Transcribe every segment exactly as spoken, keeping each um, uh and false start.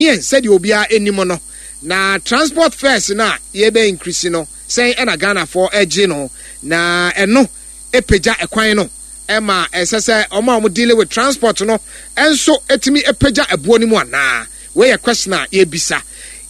Ghanaian sɛdeɛ obiara anim no na transport fares no a yɛbɛ increase no sɛn ɛna Ghanafoɔ ɛgye no na ɛno ɛpagya ɛkwan no ɛma ɛsɛ sɛ ɔmo a ɔmo deal with transport no ɛnso ɛtumi ɛpagya ɛboɔ no mu anaa? Wei yɛ question a yɛbisa.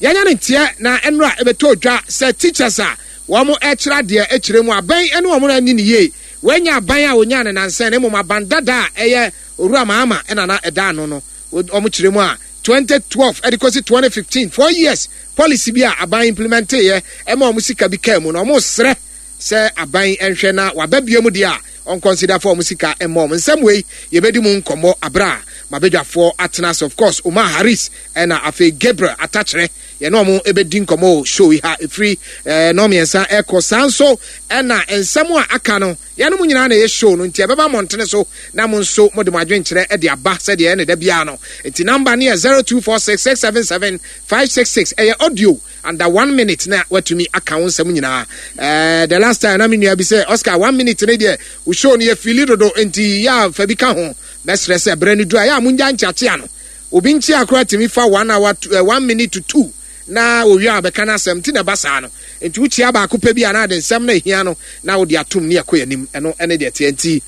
Yɛnyɛ ne nteɛ na ɛnora ɛbɛtɔ dwa sɛ teachers a wɔn ɛkyerɛ adeɛ ɛkyerɛ mu aban ɛne wɔn ani ne yie. Wɔanya aban a wɔnya ne nansɛn na mmom aban dada a ɛyɛ Owura Mahama ɛna na ɛda ano no, wɔn kyerɛ mu a twenty twelve ɛde kɔsi twenty fifteen, four years policy bi a aban implement yɛ ɛma wɔn sika bi kaa mu na wɔn srɛ sɛ aban nhwɛ na waba bie mu deɛ a ɔn consider for wɔn sika ɛma wɔn. Nsɛm wei yɛbɛdi mu nkɔmmɔ abere a mabadwafoɔ atena ase. Of course, Omar Harris ɛna afei Gabriel Atakyerɛ, yɛne wɔn ɛbɛdi nkɔmmɔ wɔ show yi ha ɛfiri ɛɛ nɔɔ mmiɛnsa ɛkɔ saa. Nso ɛna nsɛm a aka no yɛn mo nyinaa na ɛyɛ show no, nti ɛbɛba mmɔntene so na mo nso mo de mo adwenkyerɛ ɛde aba sɛdeɛ ɛne da biara no. Nti number no yɛ zero two four six six seven seven five six six. Ɛyɛ audio under one minute na watumi aka wo nsɛm nyinaa. ɛɛ the last time na me nua bi sɛ, "Oscar, one minute ne deɛ wo show no yɛ fili dodo," nti yɛ a fa bi ka ho. Mɛsrɛ sɛ berɛ no duru a yɛ a mongya nkyeakyea no. Obi nkyea koraa tumi fa one hour to, uh, one minute to two na owie a bɛka no asɛm nti na ɛba saa no. Nti wokyia baako pɛ bi a na ade nsɛm no ahia no na wode atom ne ɛkɔ anim. Ɛno ɛne deɛ teɛ, nti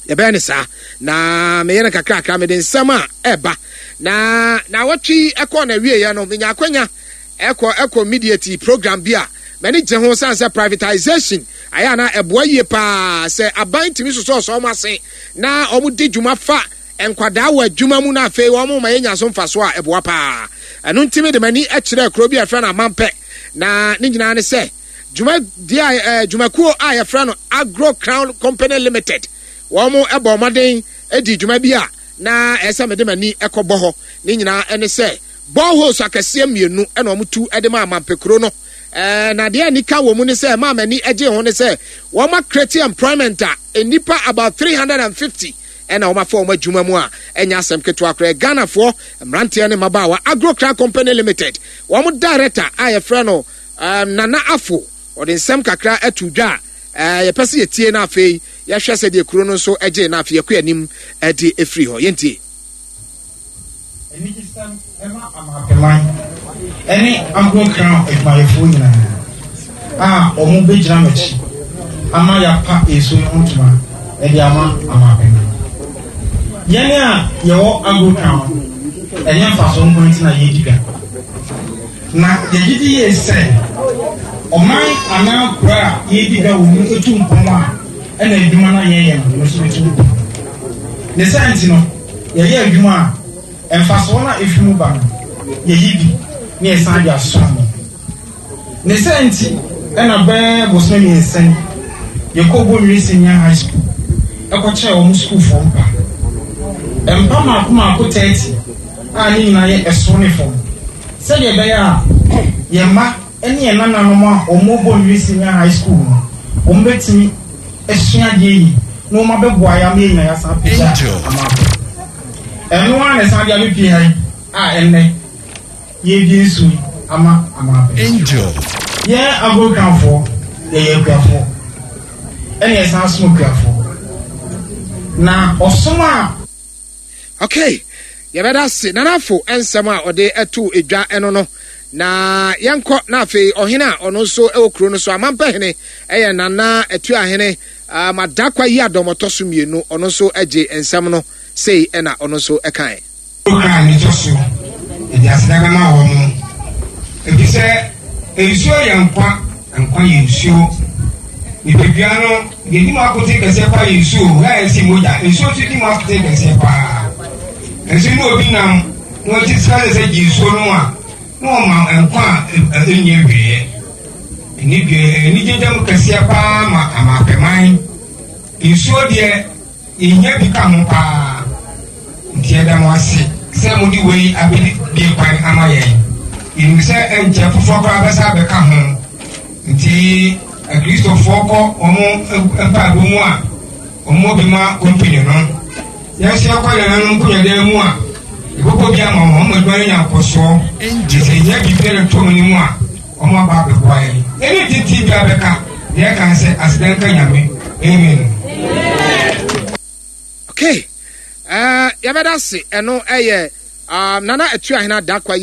yɛbɛyɛ ne saa na meyɛ no kakrakra. Mede nsɛm a ɛba na na wɔtwe ɛkɔ na wieɛ no, menya akwanya ɛkɔ ɛkɔ mediate program bi a m'ani gye ho san sɛ privatization ayɛ ana ɛboa yie paa sɛ aban tumi sosɔɔsɔ ɔmo ase na ɔmo di dwuma fa nkwadaa wɔ adwuma mu na afei wɔn ma yɛnya so mfa so a ɛboa paa. Ɛno ntumi de m'ani kyerɛ kuro bi a yɛfrɛ no Amampɛ na ne nyinaa ne sɛ dwumadie a ɛɛ dwumakuo a yɛfrɛ no Agro Crown Company Limited, wɔn bɔ mmɔden di dwuma bi a na ɛsɛ mede m'ani kɔbɔ hɔ. Ne nyinaa ne sɛ boreholes akɛseɛ mmienu ɛna wɔn tu de ma Amampɛ kuro no. ɛɛ na deɛ anika wɔ mu ne sɛ maa m'ani gye ho ne sɛ wɔn a create employment a nnipa about three hundred and fifty ɛna wɔn afa wɔn adwuma mu a ɛnyɛ asɛm ketewa koraa. Ghanafoɔ mmeranteɛ ne mmabaawa. Agro Crown Company Limited wɔn director a yɛfrɛ no um, Nana Afo, ɔde nsɛm kakra ato dwa a ɛɛ yɛpɛ sɛ yɛtie na afei yɛhwɛ sɛdeɛ kuro no nso gye na afei yɛkɔ anim de efiri hɔ. Yɛntie. Anigyesɛm ɛma Amapeman ɛne Agro Crown adwumayɛfoɔ nyinaa a wɔn bɛgyina m'akyi ama yɛapa nsuo no ho ntoma ɛde ama Amapeman. Yɛn a yɛwɔ Agro Crown, ɛnyɛ mfasoɔ nko nti na yɛdi dwa, na yɛgye di yie sɛ ɔman anaa kuro a yɛdi dwa wɔ mu etu mpɔn a ɛna adwuma no a yɛyɛ no nso etu mpɔn. Ne saa nti no, yɛyɛ adwuma a mfasoɔ no a efi mu ba no, yɛyi bi ne yɛsan de asom mo. Ne saa nti ɛna bɛɛ bosome mmiɛnsa yi yɛkɔ Bonwire Senior High School ɛkɔkyerɛ wɔn sukuufoɔ mpa mpa mmaako mmaako thirty a ne nyinaa yɛ ɛsoro ne fam, sɛdeɛ ɛbɛyɛ a yɛn mma ne yɛn nananom a wɔn Bonwire Senior High School no, wɔn bɛtumi asua adeɛ yi na wɔn abɛboa yɛ ama yɛn nyinaa yɛasan apagya ama akɔ. Ɛno ara na ɛsan de abɛpie ha yi a ɛnnɛ yɛredi nsuo yi ama ama abɛ. Angel. Yɛn agorokranfoɔ, yɛyɛ akuafoɔ ɛna yɛsan som akuafoɔ na ɔsom a Okay, yɛbɛda se nanafo nsɛm a ɔde ɛto edwa ɛno no na yɛnkɔ. Na afei ɔhene a ɔno nso ɛwɔ kuro no so, Amampɛhene, ɛyɛ Nana Atuahene um, Adakwa yi adɔmɔtɔ so mmienu, ɔno nso agye nsɛm no sei ɛna ɔno nso ɛkae. Kra ne tɔ so yɛde aseda bɛma wɔ mo, efisɛ nsuo yɛ nkwa, nkwa yɛ nsuo. Nipadua no deɛ di mu akote kɛseɛ paa yɛ nsuo. Yɛ a yɛsi mogya, nsuo nso di mu akote kɛseɛ paa. Nso ne obi nam na ɔgye sika sɛ sɛ gye nsuo no a na ɔma nkwa a ɛnni awieɛ. Anigye dɛm kɛseɛ paa ma Amapɛman. Nsuo deɛ, yɛhia bi ka ho paa, nti yɛda mo ase sɛ mode wei abɛdi bie kwan ama yɛn. Yɛnim sɛ ɛnkyɛ foforɔ koraa bɛsa abɛka ho, nti Akristofoɔ kɔ wɔn mpaebɔ mu a wɔn bi ma company no. Yɛn nso yɛkɔ yɛn nanom nkonnwadan mu a yɛbɛbɔ bi ama wɔn wɔn adwuma no nya nkɔsoɔ, nti sɛ yɛnya biribi no to no mu a wɔn aba abɛboa yɛn. Ɛne titi bi abɛka deɛ ɛka sɛ aseda nka Nyame. Amen. Okay, uh, yɛbɛda se ɛno ɛyɛ um, Nana Atuahene Adakwa yi.